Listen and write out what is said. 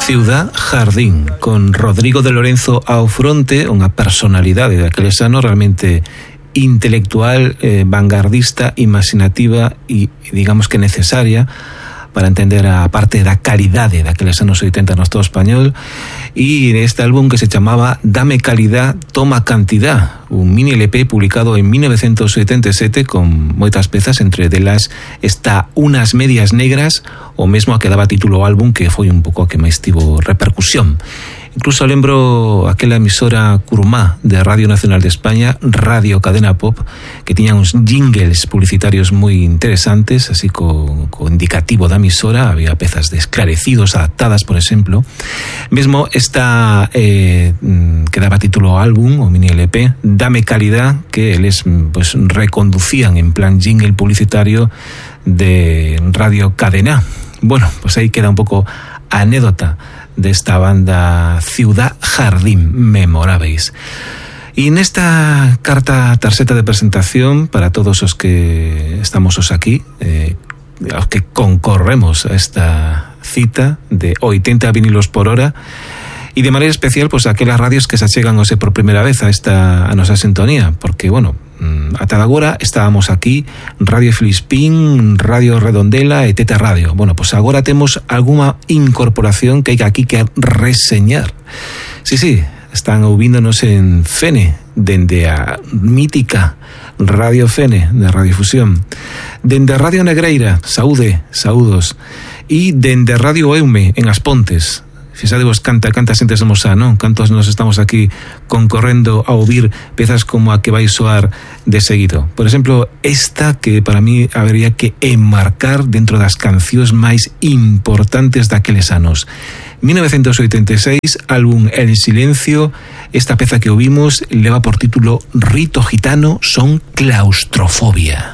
Ciudad Jardín, con Rodrigo de Lorenzo ao fronte, unha personalidade daqueles anos realmente intelectual, vanguardista, imaginativa e, digamos que necesaria para entender a parte da calidade daqueles anos 80 no Estado español, e neste álbum que se chamaba Dame calidad, toma cantidad, un mini LP publicado en 1977 con moitas pezas, entre delas está Unas medias negras, o mesmo a que daba título ao álbum, que foi un pouco a que máis tivo repercusión. Incluso lembro aquela emisora Curumá de Radio Nacional de España, Radio Cadena Pop, que tiña uns jingles publicitarios moi interesantes, así co indicativo da emisora. Había pezas de Esclarecidos adaptadas, por exemplo. Mesmo esta que daba título ao álbum, o mini LP, Dame calidad, que eles pues reconducían en plan jingle publicitario de Radio Cadena. Bueno, pues aí queda un pouco a anécdota desta banda Ciudad Jardín, memoráveis. E nesta carta tarxeta de presentación para todos os que estamos os aquí, os que concorremos a esta cita de 80 vinilos por hora, e de maneira especial pues aquelas radios que se achegan hoxe por primeira vez a nosa sintonía, porque, bueno, ata agora estábamos aquí Radio Filispín, Radio Redondela e Teta Radio. Bueno, pues agora temos algunha incorporación que hai aquí que reseñar. Sí, están ouvindonos en Fene, dende a mítica Radio Fene de Radiofusión, dende a Radio Negreira, saúdos, e dende Radio Eume en As Pontes. Fixadevos canta xente somos non? Cantos nos estamos aquí concorrendo a ouvir pezas como a que vai soar de seguido. Por exemplo, esta que para mí habería que enmarcar dentro das cancións máis importantes daqueles anos. 1986, álbum El Silencio. Esta peza que ouvimos leva por título Rito Gitano son claustrofobia.